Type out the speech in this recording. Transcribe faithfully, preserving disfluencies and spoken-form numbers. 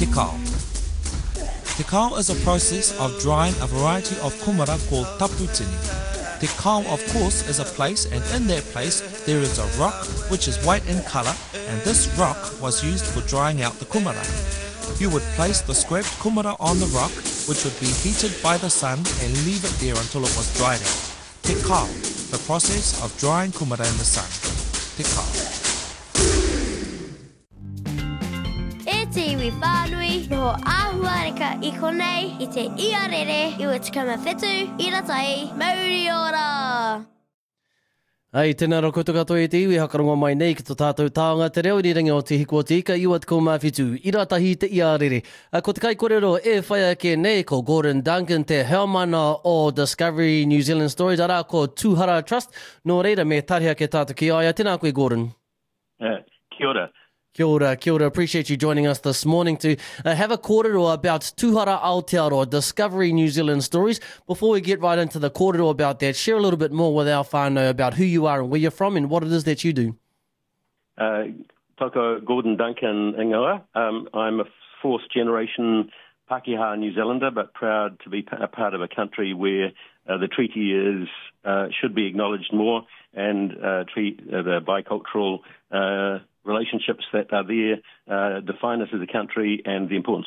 Te kao. Te kao is a process of drying a variety of kumara called taputini. Te kao, of course, is a place, and in that place there is a rock which is white in colour, and this rock was used for drying out the kumara. You would place the scraped kumara on the rock, which would be heated by the sun, and leave it there until it was dried out. Te kao, the process of drying kumara in the sun. Te kao. E te iwi whānui, noho āhuareka i konei, i te iarere, i o tekau whetū, i ratai, mauri ora! Ai, tēnā rā koutou katoa e te iwi, hakarongo mai nei ki tō tātou taonga te reo irirangi o Te Hiku o Te Ika, iwa tekau mā whitu, ira tahi te iarere. Ko te kaikorero e whai ake nei, ko Gordon Duncan, te heamana o Discovery New Zealand Stories, arā ko Tūhara Trust. Nō reira, me tariha ake tātou ki a ia. Tēnā koe, Gordon. Uh, kia ora. Kia ora, kia ora. Appreciate you joining us this morning to uh, have a kōrero about Tūhara Aotearoa, Discovery New Zealand Stories. Before we get right into the kōrero about that, share a little bit more with our whānau about who you are and where you're from and what it is that you do. Uh, toko Gordon Duncan ingoa. Um, I'm a fourth generation Pākehā New Zealander, but proud to be a part of a country where uh, the treaty is uh, should be acknowledged more, and uh, treat, uh, the bicultural uh, relationships that are there, uh, define us as a country and the importance